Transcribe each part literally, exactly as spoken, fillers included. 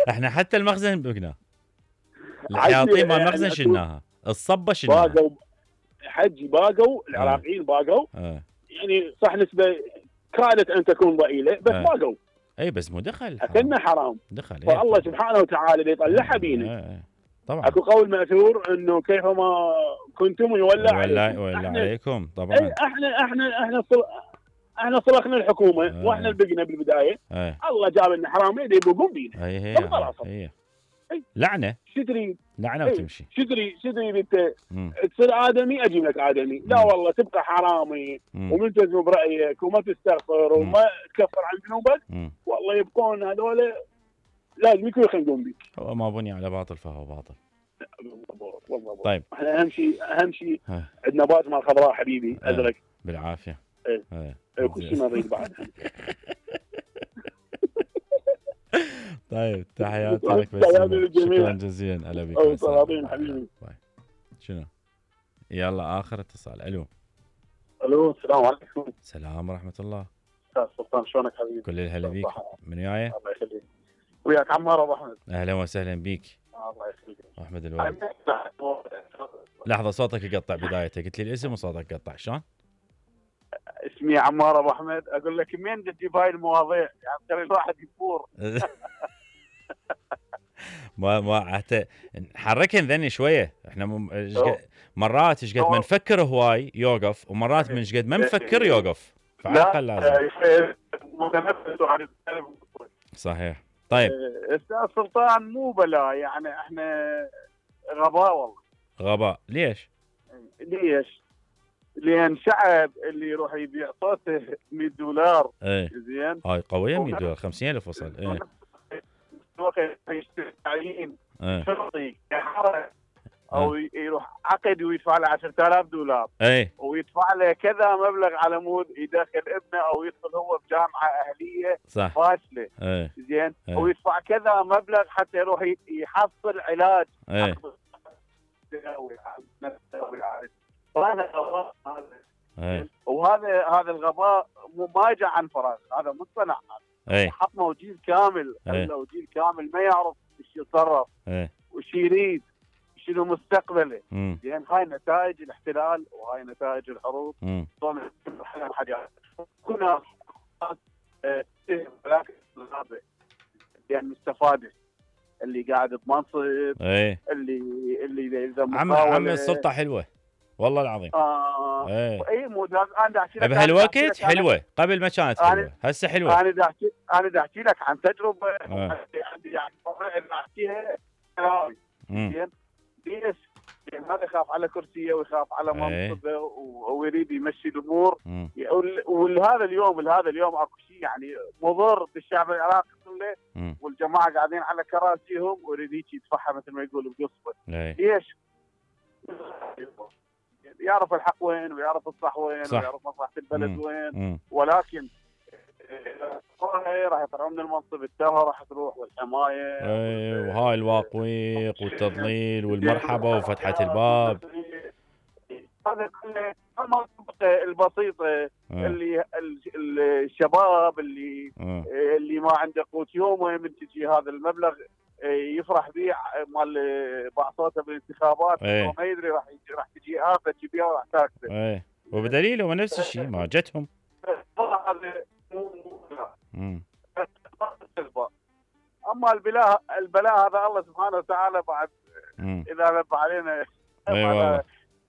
احنا حتى المخزن بقنا، الحياطين مال المخزن شلناها، الصبه شلناها. باقوا حجي، باقوا العراقيين باقوا اه. يعني صح نسبه كادت ان تكون ضئيله بس اه. باقوا. اي بس مو دخل اكلنا حرام، دخل. ايه فالله سبحانه وتعالى اللي يطلعها اه. بينا. اه. طبعا اكو قول ماثور انه كيفما كنتم يولى عليكم. يولى احنا عليكم طبعا. اي احنا احنا احنا صل... احنا صرخنا الحكومه اه. واحنا بقنا بالبدايه. اه. الله جاب لنا حرامين يبقون بينا. هي هي خلاص هي لعنه شو تريد؟ لعنه وتمشي. شو تريد شو تريد انت؟ تصير ادمي اجيب لك ادمي. لا والله تبقى حرامي وملتزم برايك وما تستغفر وما تكفر عن ذنوبك، والله يبقون هذول لازم يكونوا يخلقون بيك. هو ما بني على باطل فهو باطل. والله طيب احنا اهم شيء اهم شيء عندنا باز مال خضراء حبيبي ازرق بالعافيه. ايه ايه كل شيء نريد بعد. طيب تحياتي لك بس شكرا جزيلا. هلا بك طلابين حبيبي. شنو يلا اخر اتصال. الو الو السلام عليكم. السلام ورحمه الله. استاذ سلطان شلونك حبيبي؟ كل الهلا بيك. من وياي؟ الله يخليك. وياك عمار ابو احمد. اهلا وسهلا بيك. الله يخليك. احمد الوالد. لحظه صوتك يقطع بدايته، قلت لي الاسم وصوتك يقطع شلون؟ اسمي عمار ابو احمد. اقول لك منين تجيب هاي المواضيع؟ يعني ترى الواحد يفور. ما ما حتى نحركن ذني شويه. احنا م... مرات ايش قد ما نفكر هواي يوقف، ومرات من ايش قد ما نفكر يوقف، فعقل لازم. متنفس عن صحيح. طيب استاذ سلطان مو بلا، يعني احنا غباء والله. غباء ليش؟ ليش؟ لان شعب اللي يروح يبيع صوته مية دولار. ايه زين هاي قويه مية دولار خمسين ألف وصل. ايه وقت يشتري تعيين شرطي كحرة او يروح عقد ويدفع له عشرة آلاف دولار. ايه ويدفع له كذا مبلغ على مود يدخل ابنه او يدخل هو بجامعه اهليه صح فاشله. ايه زين ايه. ويدفع كذا مبلغ حتى يروح يحصل علاج. ايه وهذا الغباء هذا. وهذا هذا الغباء ما جاء عن فراغ، هذا مصطنع. ايه حطموا جيل كامل. خلوا جيل كامل ما يعرف ايش يتصرف وش يريد شنو مستقبله. يعني هاي نتائج الاحتلال وهاي نتائج الحروب. طبعا حاجات كنا يعني مستفاده اللي قاعد بمنصب. ايه اللي اللي اذا عم عم السلطه حلوه والله العظيم. اه ايه اي مو انا احكي لك بهالوقت حلوه، قبل ما كانت حلوه، هسه حلوه. انا دا احكي انا دا احكي لك عن تجربه عندي يعني احكيها كلامي. زين ليش؟ لان هذا يخاف على كرسيه ويخاف على منصبه ويريد يمشي الامور. ولهذا اليوم لهذا اليوم اكو شيء يعني مضر بالشعب العراقي كله، والجماعه قاعدين على كراسيهم ويريد هيك يدفعها مثل ما يقولوا بقصبه. ليش؟ يعرف الحق وين ويعرف الصح وين صح. ويعرف مصلحه البلد مم. وين مم. ولكن راح يطلعون من المنصب التافهه راح تروح والحمايه. اي وهاي الواقويق والتضليل والمرحبا وفتحه الباب. هذا كله المنطقه البسيطه اللي الشباب اللي م. اللي ما عنده قوت يومه من تجي هذا المبلغ يفرح به مال بعصوته بالانتخابات. ايه. ما يدري راح راح تجي آفة تجيبها وراح تاكله. ايه وبدليل هو نفس الشيء ما جتهم. هذا مو امم اما البلاء البلاء هذا الله سبحانه وتعالى بعد مم. اذا نبه علينا. اي والله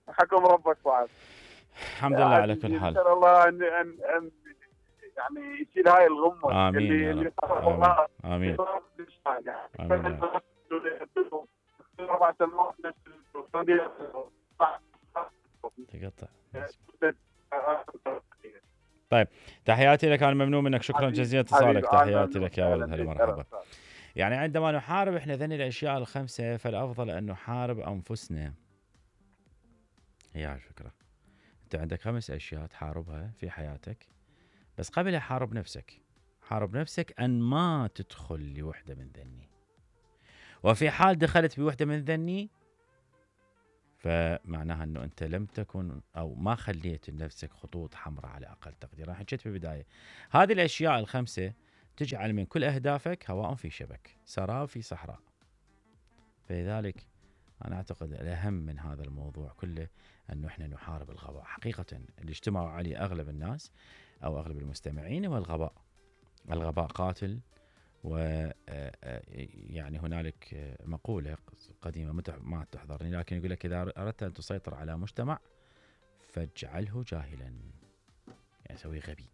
حكم ربك بعد. الحمد لله على كل حال. ان شاء الله ان ان, أن يعني يشيل هاي الغمه. امين اللي اللي امين امين, آمين. تقطع. طيب تحياتي لك، انا ممنون منك، شكرا جزيلا اتصالك. تحياتي لك يا ولد، هلا مرحبا. يعني عندما نحارب احنا ذني الاشياء الخمسه فالافضل ان نحارب انفسنا. هي الفكره، انت عندك خمس اشياء تحاربها في حياتك، بس قبل حارب نفسك. حارب نفسك ان ما تدخل لوحده من ذني، وفي حال دخلت بوحده من ذني فمعناها انه انت لم تكن او ما خليت لنفسك خطوط حمراء على اقل تقدير. انا حكيت في البدايه هذه الاشياء الخمسه تجعل من كل أهدافك هواء في شبك، سراب في صحراء. فلذلك أنا أعتقد الأهم من هذا الموضوع كله أنه إحنا نحارب الغباء. حقيقة اللي اجتمعوا عليه أغلب الناس أو أغلب المستمعين هو الغباء. الغباء قاتل. و يعني هنالك مقولة قديمة ما تحضرني، لكن يقول لك إذا أردت أن تسيطر على مجتمع فاجعله جاهلا، يعني سويه غبي.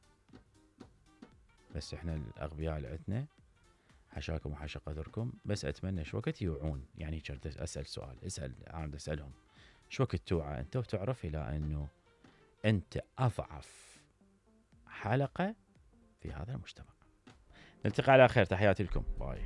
بس إحنا الأغبياء اللي عندنا حشاكم وحشا قدركم. بس أتمنى شو وقت يوعون، يعني أسأل سؤال، اسأل عم أسألهم شو وقت توعى أنت وتعرف إلى أنه أنت أضعف حلقة في هذا المجتمع. نلتقي على خير، تحياتي لكم، باي.